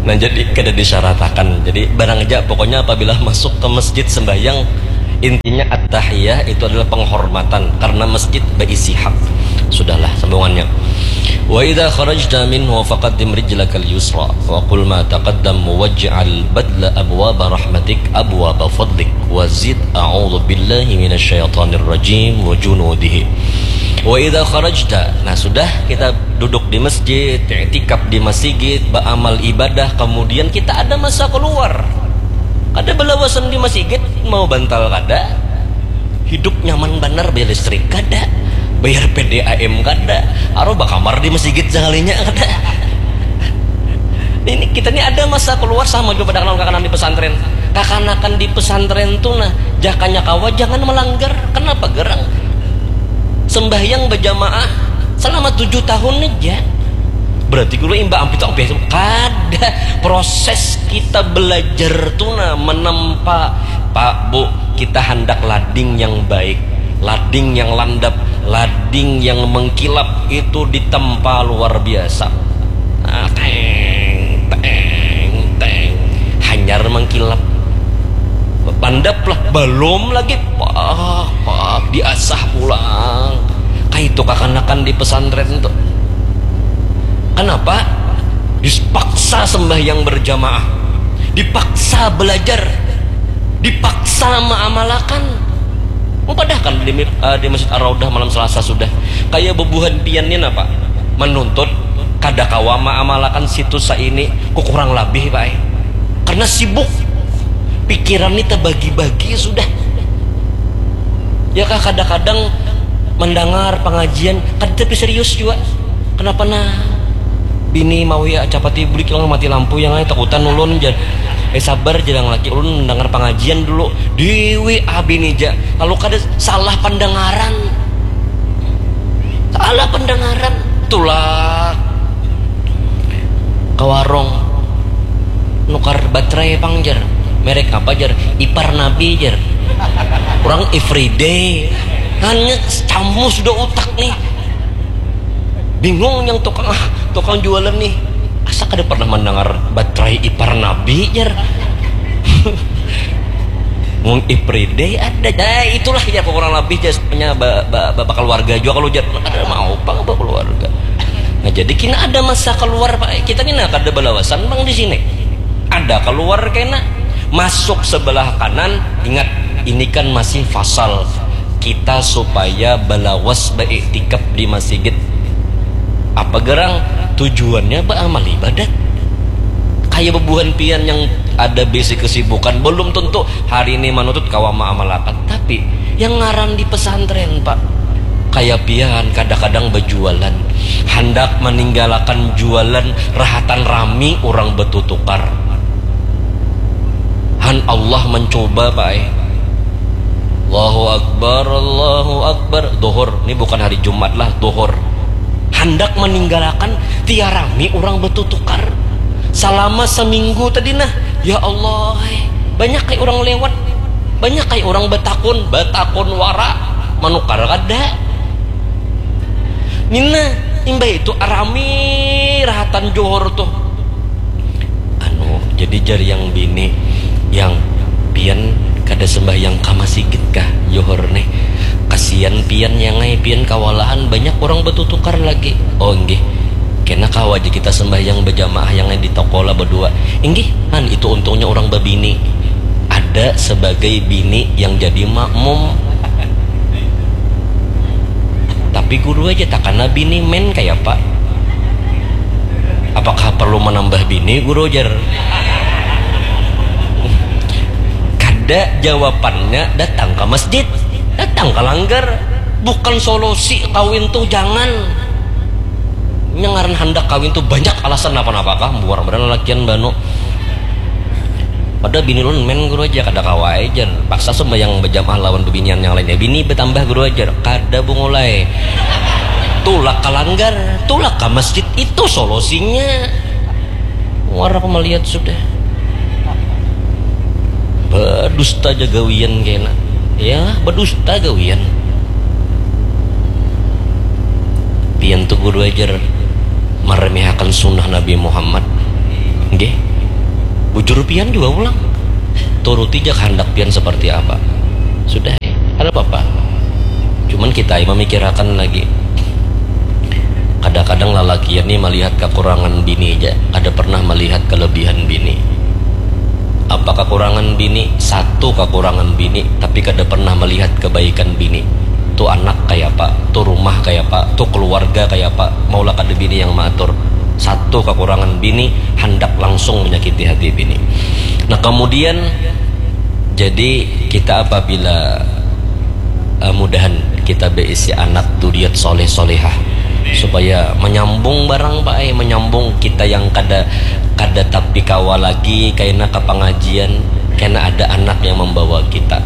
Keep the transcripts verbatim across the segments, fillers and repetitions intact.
Nah, jadi kada disyaratakan. Jadi barang aja pokoknya apabila masuk ke masjid sembahyang, intinya at-tahiyah itu adalah penghormatan karena masjid berisi hak. Sudahlah sambungannya. Wa idza kharajta minhu faqaddim rijlakal yusra wa qul ma taqaddam waj'al badla abwaba rahmatik abwaba fadlik wa zid a'udzu billahi minasyaitonir rajim wa junudihi. Wa idza kharajta, nah sudah kita duduk di masjid, iktikaf di masigit, beramal ibadah, kemudian kita ada masa keluar. Kada balawasan di masigit, mau bantal kada, hidup nyaman banar, bayar listrik kada, bayar P D A M kada, aruh bakamar di masigit sakalinya kada. Ini kita ni ada masa keluar sama juga pada kawan-kawan di pesantren. Kakanakan di pesantren tu nah, jakanya kawa jangan melanggar. Kenapa gerang? Sembahyang berjamaah selama tujuh tahun aja. Berarti guru imba ampit ampit kada. Proses kita belajar tu nah menempa, Pak, Bu, kita hendak lading yang baik, lading yang landap, lading yang mengkilap itu ditempa luar biasa. Nah, teng teng teng, hanyar mengkilap. Landap lah, belum lagi, pak pak diasah pulang. Kaitu kakanakan di pesantren tuh. Kenapa? Dipaksa sembahyang berjamaah, dipaksa belajar, dipaksa mengamalkan. Mupadahakan di, uh, di Masjid Ar-Raudah malam Selasa sudah. Kayak bebuhan pian ni napa? Menuntut kada kawa mengamalkan situs ini ku kurang lebih, Pak. Karena sibuk. Pikiran ni terbagi-bagi sudah. Ya kah, kadang-kadang mendengar pengajian kada tapi serius juga. Kenapa nah? Bini mau ya capati bulik yang mati lampu yang ai takutan ulun jar. Eh sabar jar yang laki ulun mendengar pengajian dulu. Dewi abini ja. Kalau kada salah pendengaran. Salah pendengaran. Tulak ke warung nukar baterai pang jar. Merek apa jar? Ipar Nabi jar. Orang everyday. Hanya camus sudah utak nih. Bingung yang tukang ah, tukang jualan nih. Asa kada pernah mendengar baterai ipar Nabi jar. Mung everyday ada. Nah, itulah ya kurang lebih jasnya bapak keluarga juga kalau jar. Kada mau pang bapak keluarga. Nah, jadi kena ada masa keluar, Pak. Kita ni nah kada balawasan bang di sini. Ada keluar kena masuk sebelah kanan. Ingat, ini kan masih fasal. Kita supaya balawas beiktikaf di masigit. Apa gerang? Tujuannya beramal ibadat. Kayak bebuhan pian yang ada bisi kesibukan, belum tentu hari ini manutut kawa maamalakan. Tapi yang ngaran di pesantren, Pak, kayak pian kadang-kadang berjualan, hendak meninggalkan jualan rahatan rami orang bertutukar. Han Allah mencoba, Pak, eh. Allahu Akbar, Allahu Akbar. Duhur, ini bukan hari Jumat lah, duhur. Hendak meninggalkan tiarami orang bertutukar. Selama seminggu tadi nah, ya Allah, eh. Banyak kayak orang lewat, banyak kayak orang betakun, betakun wara, menukar kada. Nina, imbah itu arami rahatan Johor tuh. Anu, jadi jar yang bini, yang pian kada sembahyang ka masigit kah Johor nih? Kasian pian yang ai, pian kawalahan, banyak orang bertutukar lagi. Oh nggih, kena kawa aja kita sembahyang berjamaah yang ai di toko lah berdua. Inggih, kan itu untungnya orang berbini. Ada sebagai bini yang jadi makmum. Tapi guru aja takana bini men kaya apa? Apakah perlu menambah bini guru jar? Kada, jawabannya datang ke masjid, datang ke langgar. Bukan solusi kawin tuh jangan. Yang ngaran handak kawin tuh banyak alasan napa-napa kah, buar badan lalakian banu. Padahal bini ulun men guru aja kada kawa ai jar. Paksa sembahyang berjamaah lawan bebinian yang lainnya. Bini bertambah guru aja kada bungulai. Tulak ke langgar, tulak ke masjid itu solusinya. Muar aku melihat sudah. Berdusta aja gawian kena. Ya, berdusta gawian. Pian tuh guru ajar meremehakan sunnah Nabi Muhammad. Nggih. Bujur pian jua pulang. Turuti ja kahandak pian seperti apa. Sudah, eh, kada apa-apa. Cuman kita ai mamikirakan lagi. Kadang-kadang lalakian ni malihat kakurangan bini ja, kada pernah malihat kelebihan bini. Apa kakurangan bini? Satu kakurangan bini, tapi kada pernah malihat kebaikan bini. Tu anak kayapa, tu rumah kayapa, tu keluarga kayapa, maulah kada bini yang maatur. Satu kakurangan bini, handak langsung menyakiti hati bini. Nah, kemudian, jadi kita apabila, eh, mudahan kita beisi anak duriat soleh solehah, supaya menyambung barang, Pak, eh, menyambung kita yang kada, kada tapi kawa lagi, kaina ka pengajian, kena ada anak yang membawa kita.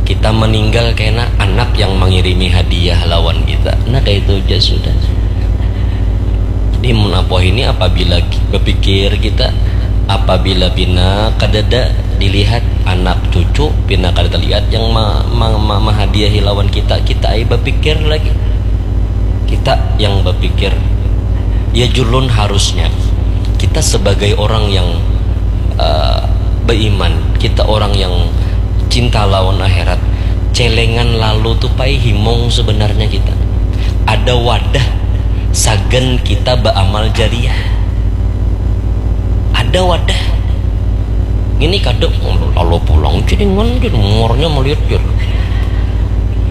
Kita meninggal, kena anak yang mengirimi hadiah lawan kita. Nah, kayak itu aja sudah. Jadi, mun apa ini, apabila ki-, berpikir kita, apabila pina kadada dilihat anak cucu, pina kada terlihat yang ma-, ma-, ma-, mahadiahi lawan kita, kita ai berpikir lagi. Kita yang berpikir. Ya, julun harusnya kita sebagai orang yang, eh, beriman, kita orang yang cinta lawan akhirat, celengan lalu tu pai himung sebenarnya kita. Ada wadah sagan kita beramal jariah. Ada wadah. Ini kada lalu pulang, celengan, jar, umurnya melihat, jar.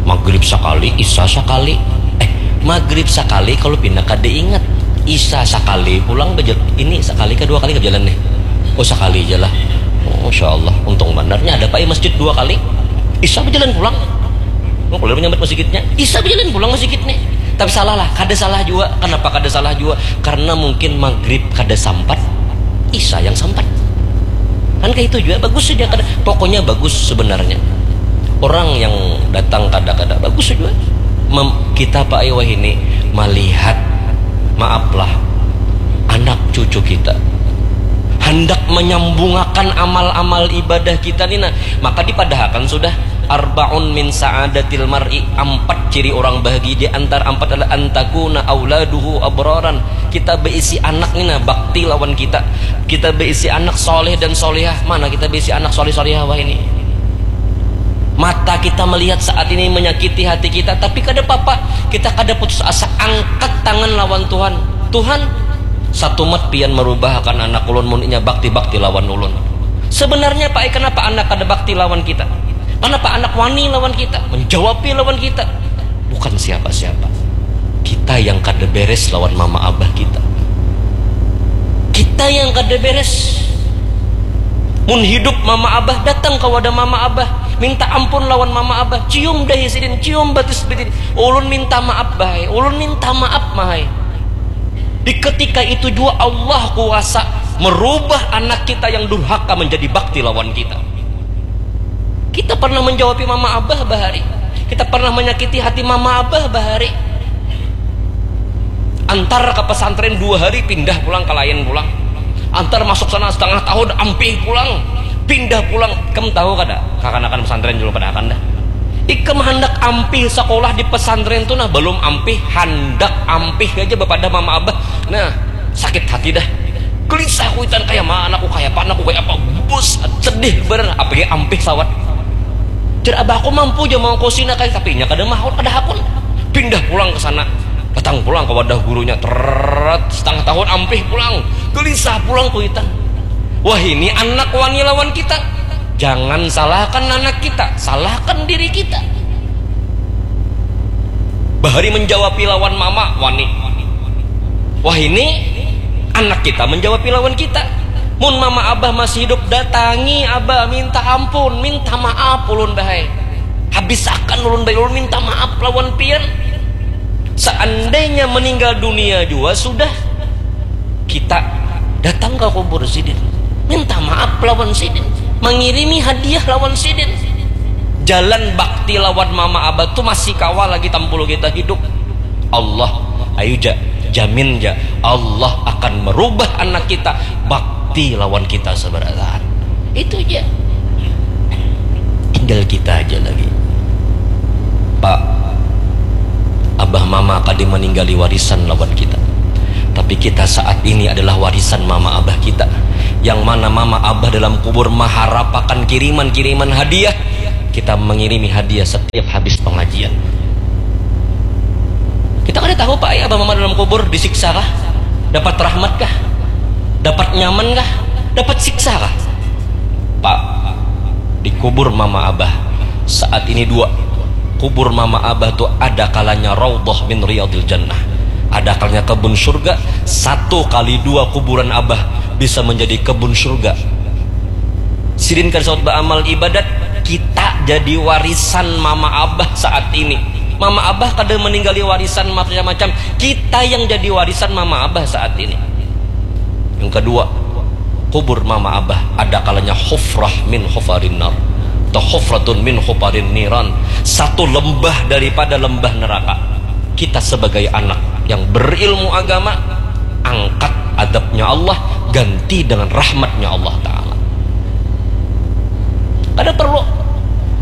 Maghrib sakali, isya sakali. Eh, maghrib sakali kalau pina kada ingat. Isya sakali pulang bejel-, ini sakali kah dua kali kah bejalan nih? Oh, sakali aja lah. Oh, Masya Allah, untung bandarnya ada, Pak, ya, masjid dua kali. Isya bejalan pulang. Oh, kalau menyambat masjidnya, Isya bejalan pulang masjidnya. Tapi salah lah, kada salah juga. Kenapa kada salah juga? Karena mungkin maghrib kada sampat, Isya yang sampat. Kan kayak itu juga, bagus saja kada. Pokoknya bagus sebenarnya. Orang yang datang kada-kada, bagus saja. Mem-, kita, Pak, ai wahini melihat, maaflah, anak cucu kita. Hendak menyambungakan amal-amal ibadah kita ni, nah, maka dipadahakan sudah, "Arbaun min sa'adatil mar'i," ampat ciri orang bahagia, di antara ampat adalah, "Antakuna auladuhu abraran." Kita beisi anak ni, nah, bakti lawan kita. Kita beisi anak soleh dan solehah. Mana kita beisi anak soleh solehah wahini? Mata kita melihat saat ini menyakiti hati kita, tapi kada apa-apa. Kita kada putus asa, angkat tangan lawan Tuhan. "Tuhan, satumat pian merubahakan anak ulun mun inya bakti-bakti lawan ulun." Sebenarnya, Pak, ai, kenapa anak kada bakti lawan kita? Kenapa anak wani lawan kita? Menjawabi lawan kita. Bukan siapa-siapa. Kita yang kada beres lawan mama abah kita. Kita yang kada beres. Mun hidup mama abah, datang ka wadah mama abah, minta ampun lawan mama abah, cium dahi sidin, cium batis sidin, "Ulun minta maaf, Bah ai, ulun minta maaf, Mah ai." Di ketika itu jua Allah kuasa merubah anak kita yang durhaka menjadi bakti lawan kita. Kita pernah menjawabi mama abah bahari. Kita pernah menyakiti hati mama abah bahari. Antar ke pesantren dua hari, pindah pulang ke lain pulang. Antar masuk sana setengah tahun, ampih pulang, pindah pulang. Ikam tahu kada, kakanakan pesantren dulu pada akan dah. Ikam handak ampih sekolah di pesantren tu nah, belum ampih, handak ampih aja bapadah mama abah. Nah, sakit hati dah. Gelisah kuitan, kaya mana aku, kaya apa anakku, kaya apa, bus, sedih bener, apalagi ampih sawat. Jar abah, aku mampu ja mangkosina kaya, tapi inya kada mahut, kada hakun. Pindah pulang ke sana, datang pulang ke wadah gurunya, teret, setengah tahun ampih pulang, gelisah pulang kuitan. Wah, ini anak wani lawan kita. Jangan salahkan anak kita, salahkan diri kita. Bahari menjawabi lawan mama, wani. Wah, ini anak kita menjawabi lawan kita. Mun mama abah masih hidup, datangi abah, minta ampun, minta maaf ulun, Bah ai. Habisakan ulun, Bah ai, ulun minta maaf lawan pian. Seandainya meninggal dunia jua sudah, kita datang ke kubur sidin, minta maaf lawan sidin, mengirimi hadiah lawan sidin. Jalan bakti lawan mama abah tu masih kawa lagi tampul kita hidup. Allah, ayu ja, jamin ja, Allah akan merubah anak kita bakti lawan kita seberataan. Itu ja. Tinggal kita aja lagi. Pak, abah mama kada meninggali warisan lawan kita. Tapi Kita saat ini adalah warisan mama abah kita. Yang mana mama abah dalam kubur maharapakan kiriman-kiriman hadiah. Kita mengirimi hadiah setiap habis pengajian. Kita kada tahu, Pak, ya, abah mama dalam kubur disiksa kah? Dapat rahmat kah? Dapat nyaman kah? Dapat siksa kah? Pak, di kubur mama abah saat ini dua. Kubur mama abah tu ada kalanya raudhah min riyadil jannah. Ada kalanya kebun surga. Satu kali dua kuburan abah bisa menjadi kebun surga. Sidin kada saut baamal ibadat, kita jadi warisan mama abah saat ini. Mama abah kada meninggali warisan macam-macam, kita yang jadi warisan mama abah saat ini. Yang kedua, kubur mama abah ada kalanya hufrah min hufarin nar atau hufratun min hufarin niran, satu lembah daripada lembah neraka. Kita sebagai anak yang berilmu agama, angkat adabnya Allah, ganti dengan rahmatnya Allah Ta'ala. Kada perlu.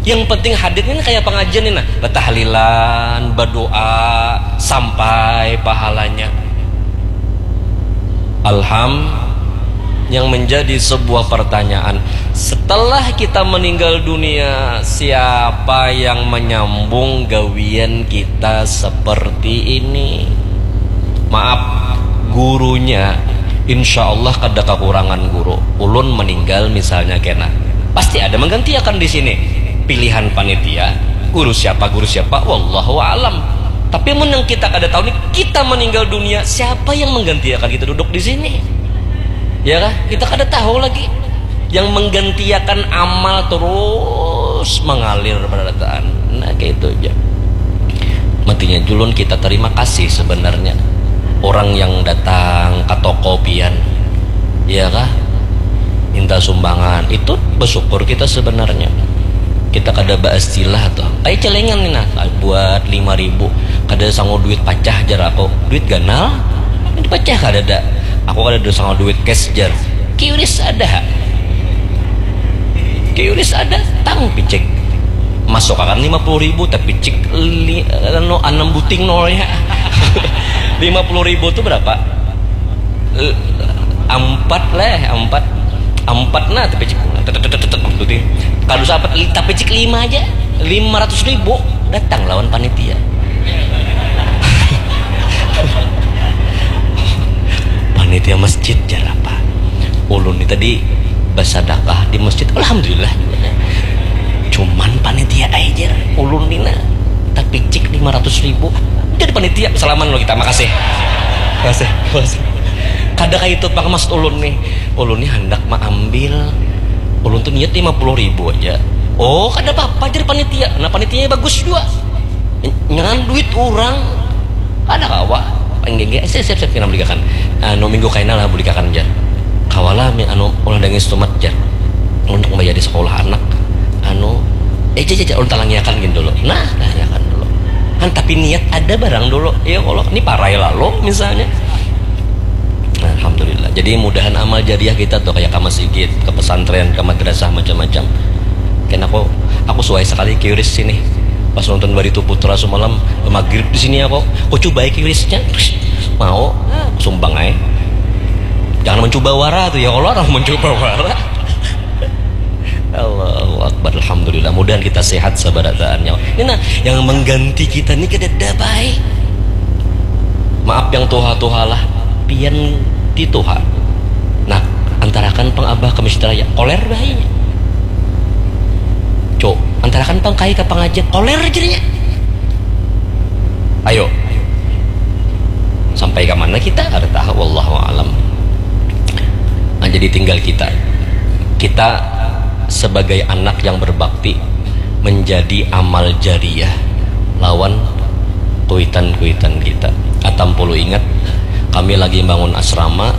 Yang penting hadir ini kayak pengajian ini, nah, bertahlilan, berdoa, sampai pahalanya. Alham, yang menjadi sebuah pertanyaan, setelah kita meninggal dunia, siapa yang menyambung gawian kita seperti ini? Maaf, gurunya insya Allah kada kekurangan guru. Ulun meninggal misalnya kena, pasti ada menggantiakan di sini. Pilihan panitia, guru siapa, guru siapa, wallahu alam. Tapi mun yang kita kada tahu nih, kita meninggal dunia, siapa yang menggantiakan kita duduk di sini? Ya kah? Kita kada tahu lagi. Yang menggantiakan amal terus mengalir barataan. Nah, kayak itu aja. Matinya julun kita terima kasih sebenarnya. Orang yang datang ke toko pian, ya kah? Minta sumbangan, itu bersyukur kita sebenarnya. Kita kada baistilah tuh. Kayak celengan nih, nah, buat lima ribu. Kada sanggup duit pacah, jar aku. Duit ganal? Ini pacah kada ada. Aku kada ada sanggup duit cash, jar. Kiuris ada. Kiuris ada, tang picik. Masuk akan lima puluh ribu, tapi cik li, anu, enam buting nolnya. Lima puluh ribu tuh berapa? Eh, empat leh, empat. Empat nah, tapi cik. Tetep, tetep, tetep, tetep, tetep. Kalau sahabat, tapi cik lima aja. Lima ratus ribu datang lawan panitia. Panitia masjid, jar apa? Ulun ni tadi basadakah di masjid, alhamdulillah juga. Cuman panitia ai, jar. Ulun ni nah, tapi cik lima ratus ribu. Jadi panitia, salaman lo kita, makasih. Makasih, makasih. Kada kayak itu, Pak, maksud ulun nih. Ulun ni handak maambil. Ulun tuh niat lima puluh ribu aja. Oh, kada apa-apa, jar panitia. Nah, panitianya bagus juga. Nyangan duit orang. Kada kawa. Enggak, enggak. Siap, siap, siap, kita belikan. Anu, minggu kaina lah belikan, jar. Kawa lah, mi-, anu, ulah dangis tumat, jar. Untuk membayar di sekolah anak. Anu, eh, jar, jar, jar, ulun talangiakan gini dulu. Nah, talangiakan dulu. Kan, tapi niat ada barang dulu. Ya Allah, ini parai lalu, misalnya. Nah, alhamdulillah. Jadi, mudahan amal jariah kita tuh, kayak ke masjid, ke pesantren, ke madrasah, macam-macam. Kena aku, aku suai sekali kiuris sini. Pas nonton Barito Putra semalam, maghrib di sini aku. Aku coba kiurisnya. Mau, sumbang aja. Jangan mencoba wara tuh, ya Allah, orang mencoba wara. Allahu Akbar, alhamdulillah. Mudahan kita sehat sabarataannya. Ini nah, yang mengganti kita ini kada ada baik. Maaf yang tuha-tuha lah, pian ti tuha. Nah, antarakan pang abah ke masjid raya, koler bahinya. Cuk, antarakan pang kai ke pengajian, koler jadinya. Ayo, sampai ke mana kita? Ada tahu, wallahu alam. Nah, jadi tinggal kita. Kita sebagai anak yang berbakti menjadi amal jariah lawan kuitan-kuitan kita. Atam pulu ingat, kami lagi bangun asrama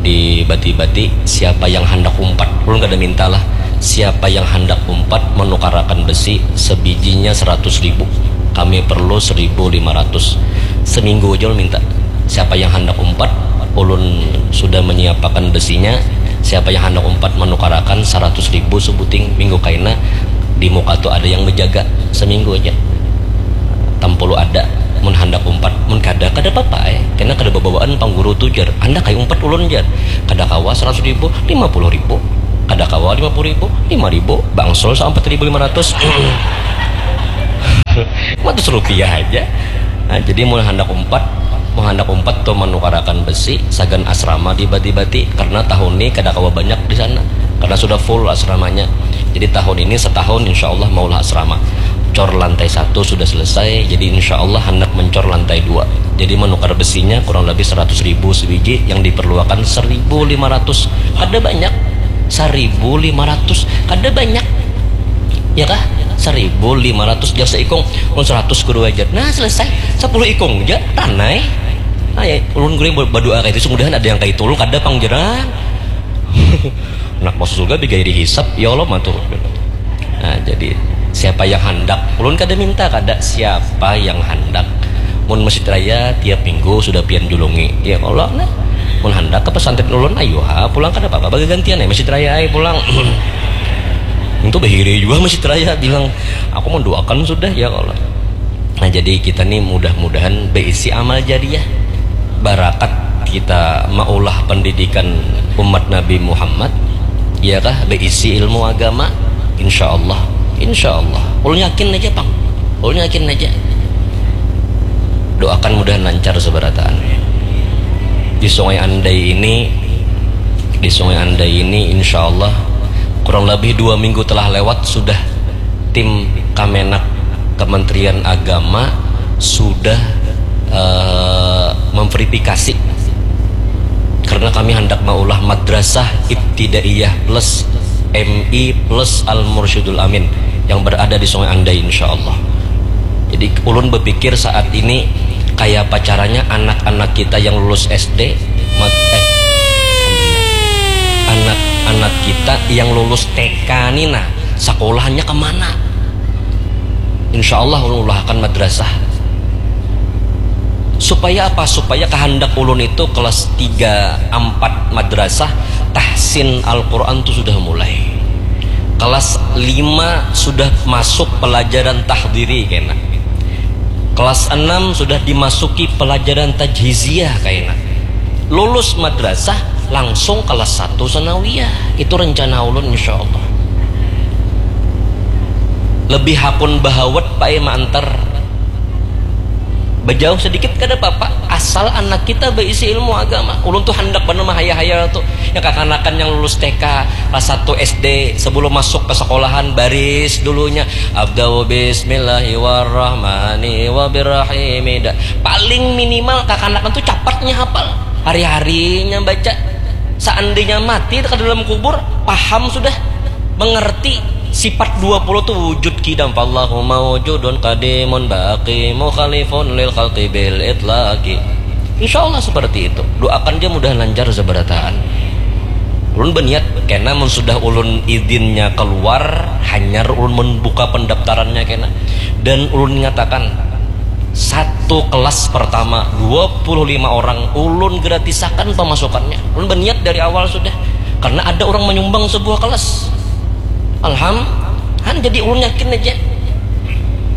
di Bati-Bati, siapa yang handak umpat, ulun kada minta lah, siapa yang handak umpat menukarakan besi sebijinya seratus ribu, kami perlu seribu lima ratus. Seminggu aja ulun minta. Siapa yang handak umpat, ulun sudah menyiapakan besinya. Siapa yang handak umpat menukarakan seratus ribu sebuting, minggu kaina di muka tu ada yang menjaga seminggu aja. Tampulu ada. Mun handak umpat, mun kada, kada papa ai. Kena kada babawaan pang guru tu jar. Handak ai umpat ulun jar. Kada kawa saratus ribu, lima puluh ribu. Kada kawa lima puluh ribu, lima ribu. Bangsul sampat ribu lima ratus. Lima ratus rupiah aja. Nah, jadi mun handak umpat, mun handak umpat tu manukarakan besi, sagan asrama dibati-bati. Karena tahun ni kada kawa banyak di sana. Karena sudah full asramanya. Jadi tahun ini setahun insya Allah maulah asrama. Cor lantai satu sudah selesai, jadi insya Allah handak mencor lantai dua. Jadi menukar besinya kurang lebih seratus ribu sebiji, yang diperluakan seribu lima ratus. Kada banyak. Seribu lima ratus. Kada banyak. Ya kah? Seribu lima ratus jar seikung. Mun seratus kudu aja. Nah, selesai. Sepuluh ikung aja. Tanai. Nah, ya, ulun gurih berdoa kayak itu. Mudahan ada yang kayak itu. Ulun kada pang jarang. Anak masuk surga bigairi hisap, ya Allah, matur. Nah, jadi siapa yang handak, ulun kada minta, kada, siapa yang handak. Mun masjid raya tiap minggu sudah pian julungi, ya Allah, nah. Mun handak ke pesantren ulun, ayo ha pulang, kada apa-apa, bagagantian ya masjid raya ai pulang. Itu bahiri juga masjid raya bilang, aku mendoakan sudah, ya Allah. Nah, jadi kita nih mudah-mudahan berisi amal jariah, barakat kita maulah pendidikan umat Nabi Muhammad, ya kah, berisi ilmu agama, insya Allah, insya Allah. Ulun yakin aja pang, ulun yakin aja. Doakan mudahan lancar seberataan. Di Sungai Andai ini, di Sungai Andai ini, insya Allah kurang lebih dua minggu telah lewat sudah tim Kamenag Kementerian Agama sudah eh, memverifikasi, karena kami hendak maulah madrasah ibtidaiyah plus M I plus Al Mursyidul Amin yang berada di Sungai Andai, insya Allah. Jadi ulun berpikir saat ini kayak apa caranya anak-anak kita yang lulus S D, mat- eh, anak-anak kita yang lulus T K nih, nah, sekolahnya kemana? Insya Allah ulun ulahakan madrasah. Supaya apa? Supaya kehendak ulun itu kelas tiga, empat madrasah, tahsin Al-Quran tu sudah mulai. Kelas lima sudah masuk pelajaran tahdiri kena. Kelas enam sudah dimasuki pelajaran tajhiziyah kena. Lulus madrasah langsung kelas satu sanawiyah. Itu rencana ulun, insya Allah. Lebih hakun bahawat pai maantar. Bejauh sedikit kada apa-apa, asal anak kita berisi ilmu agama. Ulun tuh hendak banar mahayal-hayal tuh. Yang kakanakan yang lulus T K, kelas satu S D, sebelum masuk ke sekolahan, baris dulunya. Abdau bismillahi warrahmani wabirrahimi. Da- Paling minimal kakanakan tuh capatnya hafal. Hari-harinya baca. Seandainya mati ke dalam kubur, paham sudah, mengerti sifat dua puluh tu wujud kidam. Fallahu mawjudun qadimun baqi mukhalifun lil khalqi bil itlaqi. Insya Allah seperti itu. Doakan dia mudah lancar seberataan. Ulun berniat kena mun sudah ulun izinnya keluar, hanyar ulun membuka pendaftarannya kena. Dan ulun nyatakan satu kelas pertama dua puluh lima orang ulun gratisakan pemasukannya. Ulun berniat dari awal sudah. Karena ada orang menyumbang sebuah kelas. Alham, han jadi ulun yakin aja.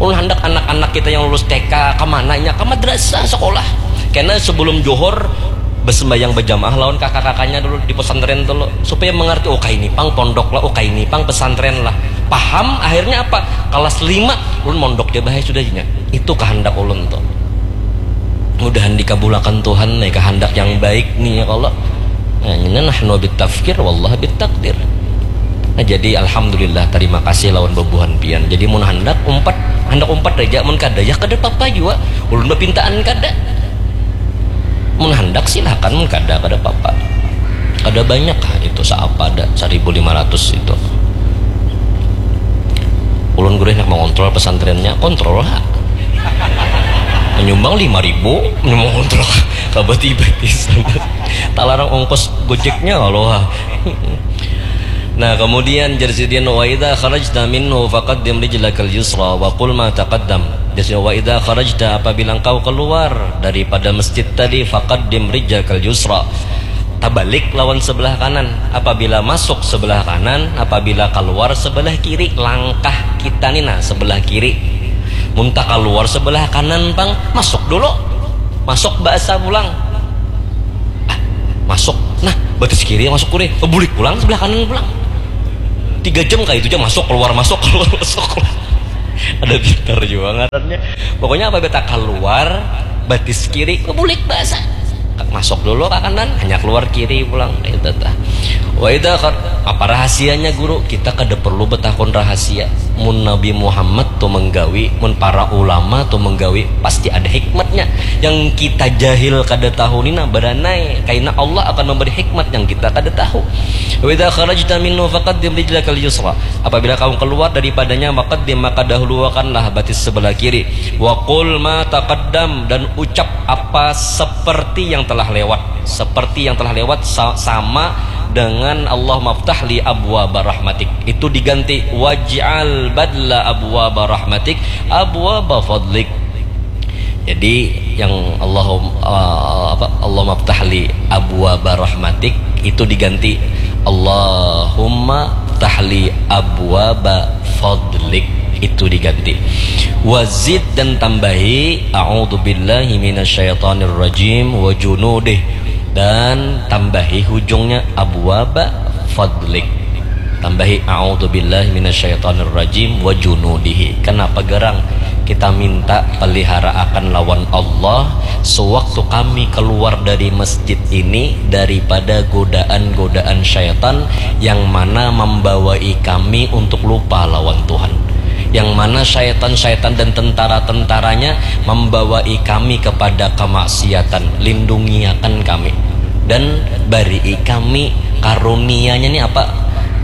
Ulun hendak anak-anak kita yang lulus T K, ke mananya? Ke madrasah, sekolah. Karena sebelum johor, bersembahyang berjamaah lawan kakak-kakaknya dulu di pesantren dulu. Supaya mengerti, oh, kaini pang pondok lah, oh, kaini pang pesantren lah. Paham, akhirnya apa? Kelas lima, ulun mondok dia bahaya sudah jinya. Itu kehendak ulun tuh. Mudahan dikabulakan Tuhan nih kehendak yang baik nih ya Allah. Nah, ini nahnu bit tafkir, wallah bit takdir. Nah, jadi alhamdulillah, terima kasih lawan bebuhan pian. Jadi mun handak umpat, handak umpat aja, mun kada ya kada apa-apa jua. Ulun bepintaan kada. Mun handak silakan, mun kada kada apa-apa. Kada banyak lah itu, saapa ada seribu lima ratus itu. Ulun guru hendak mengontrol pesantrennya, kontrol lah. Menyumbang lima ribu, mengontrol. Kabati betis. Talarang ongkos gojeknya kalau. Nah, kemudian jar sidin, wa idza kharajta minhu faqaddim rijlakal yusra wa qul ma taqaddam. Jar sidin, wa idza kharajta, apabila engkau keluar daripada masjid tadi, faqaddim rijlakal yusra. Tabalik lawan sebelah kanan. Apabila masuk sebelah kanan, apabila keluar sebelah kiri, langkah kita ni nah sebelah kiri. Mun takaluar sebelah kanan pang, masuk dulu. Masuk bahasa pulang. Ah, masuk. Nah, batis kiri masuk kuri. Oh, bulik pulang sebelah kanan pulang. Tiga jam kayak itu aja masuk keluar masuk keluar masuk keluar. Ada pintar juga ngarannya. Pokoknya apa beta keluar batis kiri, oh, bulik bahasa. Masuk dulu ke kanan, hanya keluar kiri pulang. Itu tah. Wa idza khar-, apa rahasianya guru? Kita kada perlu betakun rahasia. Mun Nabi Muhammad tu menggawi, mun para ulama tu menggawi, pasti ada hikmatnya. Yang kita jahil kada tahu ni nah beranai, karena Allah akan memberi hikmat yang kita kada tahu. Wa idza kharajta minhu faqaddim rijlakal yusra. Apabila kamu keluar daripadanya, faqaddim, maka dahuluakanlah batis sebelah kiri. Wa qul ma taqaddam, dan ucap apa seperti yang telah lewat. Seperti yang telah lewat sa-, sama dengan Allahumma ftah li abwaba rahmatik. Itu diganti waj'al badla abwaba rahmatik abwaba fadlik. Jadi yang Allahum-, eh, apa, Allahumma ftah li abwaba rahmatik itu diganti Allahumma ftah li abwaba fadlik, itu diganti. Wazid, dan tambahi a'udzubillahi minasyaitonirrajim wa junudih, dan tambahi hujungnya abwaba fadlik. Tambahi a'udzubillahi minasyaitonirrajim wa junudihi. Kenapa gerang? Kita minta pelihara akan lawan Allah sewaktu kami keluar dari masjid ini daripada godaan-godaan syaitan yang mana membawai kami untuk lupa lawan Tuhan. Yang mana syaitan-syaitan dan tentara-tentaranya membawai kami kepada kemaksiatan. Lindungiakan kami. Dan barii kami karunianya ni apa?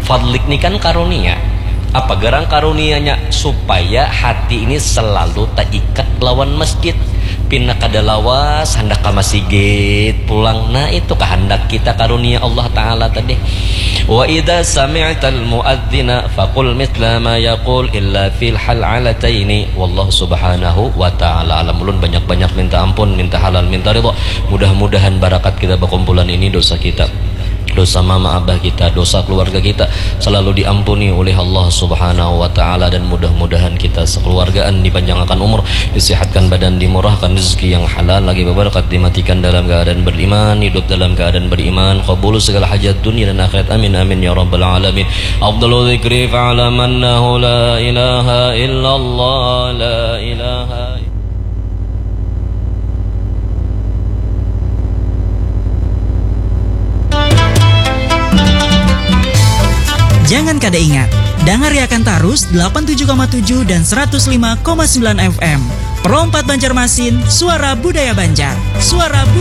Fadlik ni kan karunia. Apa gerang karunianya? Supaya hati ini selalu taikat lawan masjid. Pina kada lawas, handak ka masigit pulang. Nah, itu kahandak kita karunia Allah Ta'ala tadi. Wa idza sami'tal muadzina faqul mithla ma yaqul illa fil hal'alataini. Wallahu subhanahu wa ta'ala alam. Ulun banyak-banyak minta ampun, minta halal, minta ridha. Mudah-mudahan barakat kita bakumpulan ini, dosa kita, dosa mama abah kita, dosa keluarga kita selalu diampuni oleh Allah Subhanahu wa Ta'ala, dan mudah-mudahan kita sekeluargaan dipanjangkan umur, disehatkan badan, dimurahkan rezeki yang halal, lagi beberkat, dimatikan dalam keadaan beriman, hidup dalam keadaan beriman, kabul segala hajat dunia dan akhirat. Amin, amin, ya rabbal alamin. Afdalu dzikri fa'lam annahu la ilaha illallah, la ilaha Jangan kada ingat, dangariakan tarus delapan tujuh koma tujuh dan seratus lima koma sembilan F M. Pro empat Banjarmasin, suara budaya Banjar. Suara budaya